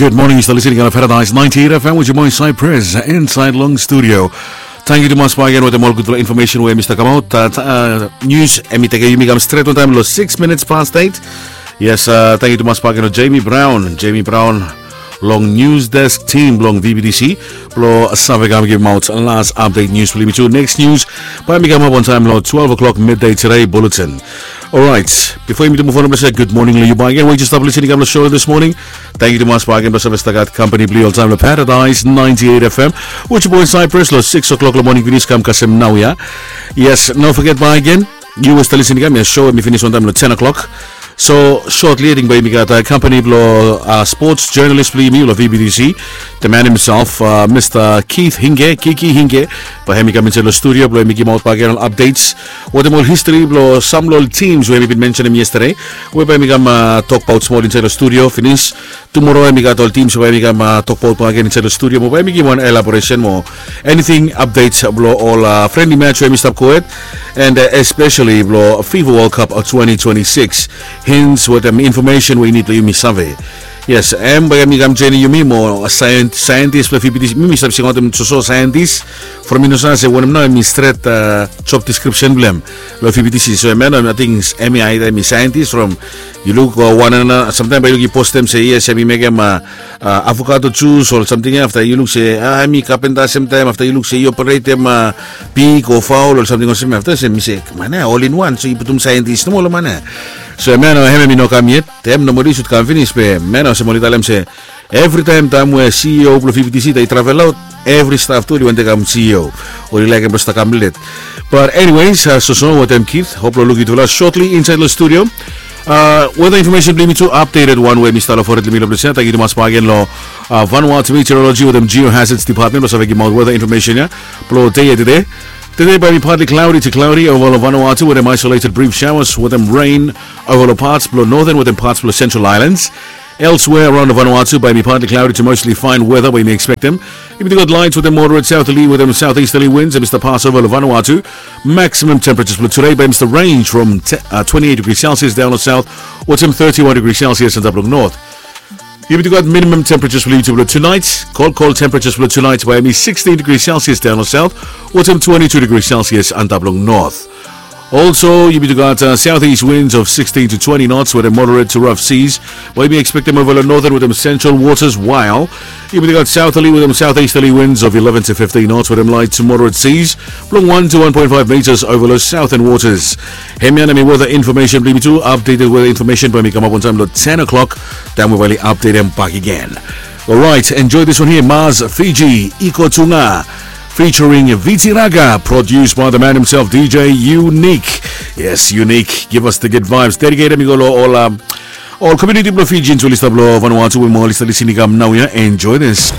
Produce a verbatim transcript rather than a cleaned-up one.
Good morning, yu stap listening long Paradise ninety-eight F M with your boy Cypress inside long studio. Tangkiu tumas bakegen wetem ol gudfala infomesen we mi stap kamaot. Nius hemi tekem yumi kam stret wantaem long six minutes past eight. Yes, tangkiu tumas bakegen long Jamie Brown, Jamie Brown long news desk team blong V B T C blong save kam givimaot las update nius blong yumi tu. Next news bae mi kamap wantaem long twelve o'clock midday today bulletin. Orait, bifo yumi tu move on, mi se gud moning long yu bakegen we yu stap listening kam long show this morning. Tangkiu tumas bakegen blong save stap gat kampani blong yu oltaem long Paradise ninety-eight F M with your boy Cypress long six o'clock long moning finis kam kasem naoia. Yes, no foget bakegen, yu we stap listening kam ya, show hemi finis wantaem long ten o'clock. So shortly ating bae yumi gat kampani blong sports journalist blong yumi long V B T C, the man himself, Mr Keith Hinge, Kiki Hinge, bae hemi kam insaed long studio blong hemi givimaot bakegen ol updates wetem ol history blong sam long ol teams we hemi bin mensenem yesterday, we bae hemi kam tokbaot smol insaed long studio finis. Tumora hemi gat ol teams we bae hemi kam tokbaot bakegen insaed long studio, mo bae hemi givim wan elaboresen mo anything updates blong ol friendly match we hemi stap gohed, and especially blong FIFA World Cup twenty twenty-six. Hints wetem infomesen we yu nid blong yumi save. Yes, hem bae hemi kam joenem yumi mo saentis blong V B T C. Mi mi stap singaotem soso saentis from mi no save se wanem nao hemi stret job description blong hem long V B T C. So hem ya nao ating hemi aida hemi saentis from yu luk wan, samtaem bae yu luk i postem se yes hemi mekem avocado jus o samting ya, afta yu luk se hemi kapenta, samtaem afta yu luk se i operetem pig o faol o samting olsem ya, afta se mi se man ya all in one, so i putum saentis nomo long man ya. So hem ya nao hem hemi no kam yet. Taem nomali i sud kam finis, be man ya olsem oli talem se evritaem taem we C E O blong V B T C i travel aot, evri staf tu oli wantem kam C E O. Oli laekem blong stap kam let. But anyways, soso wetem Keith, hop long luk yutufala shortly insaed long studio. Weta infomesen blong yumi tu, updated wan we mi stap long fored long mil blong ples ya. Tangkiu tumas bakegen long Vanuatu Meteorology wetem Geohazards Department blong save givimaot weta infomesen ya blong dei ya tede. Tede bae hemi partly cloudy to cloudy ova long Vanuatu wetem isolated brief showers wetem rain ova long pats blong Northern wetem pats blong Central Islands. Elsewhere around Vanuatu bae hemi partly cloudy to mostly fine weather we yumi ekspektem. Yumi tu gat light wetem moderate southerly wetem southeasterly winds hemi stap pas ova long Vanuatu. Maximum temperatures blong tude bae hemi stap range from twenty-eight degrees Celsius daon long south wetem thirty-one degrees Celsius antap long north. Yumi tu gat minimum temperatures blong yumi tu blong tunaet. Kol kol temperatures blong tunaet bae hemi sixteen degrees Celsius daon long south wetem twenty-two degrees Celsius antap long north. Also yumi tu gat southeast winds of sixteen to twenty knots wetem moderate to rough seas bae yumi ekspektem ova long northern wetem central waters, while yumi tu gat southerly wetem southeasterly winds of eleven to fifteen knots wetem light to moderate seas blong one to one point five meters ova long southern waters. Hemia na hemi weta infomesen blong yumi tu. Updated weta infomesen bae hemi kamap wantaem long ten o'clock, taem we bae oli updatem bakegen. Alright, enjoy this one here, Mars Fiji, Iko Tunga, featuring Viti Raga, produced by the man himself, D J Unique. Yes, Unique, give us the good vibes. Dedicated hemi go long ol, um, ol community blong Fijians we oli stap long Vanuatu we mo oli stap listening kam naoia. Enjoy this.